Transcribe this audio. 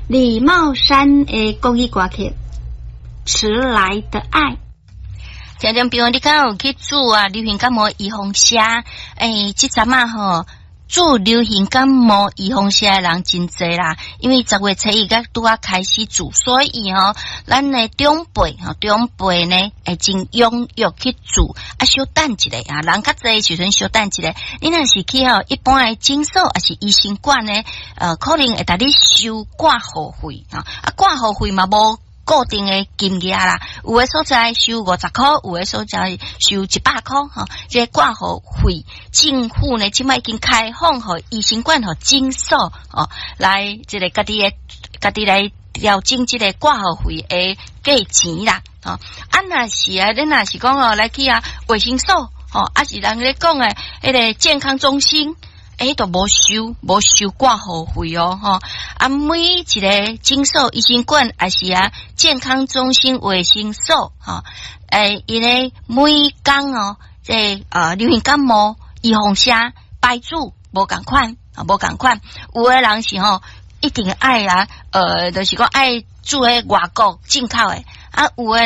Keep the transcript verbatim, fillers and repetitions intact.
李茂山的國語歌曲《遲來的愛》。聽眾朋友，你敢有去注啊？流行感冒預防射？欸，這陣仔吼，注流行感冒預防射的人真濟啦，因為十月初一才拄仔開始注，所以吼，咱的長輩吼，長輩呢會真踴躍去注。啊，小等一下啊，人較濟的時陣小等一下。你若是去吼一般的診所，抑是醫生館呢，呃，可能會共你收掛號費啊，啊，掛號費嘛無固定的金額啦，有的所在收五十箍，有的所在收一百箍，吼。這個掛號費，政府呢這擺已經開放予醫生館和診所哦，來這個家己的家己來調整這個掛號費的價錢啦，吼。啊，若是啊，你若是講哦，來去啊衛生所，吼，抑是人咧講的彼個健康中心。欸，都無收，無收掛號費哦，吼！啊，每一個診所、醫生館，抑是啊健康中心、衛生所，吼，欸，𪜶咧每工哦，這個呃流行感冒預防射排注無仝款，啊，無仝款。有的人是吼一定愛啊，呃，就是講愛注彼外國進口的，啊，有的人。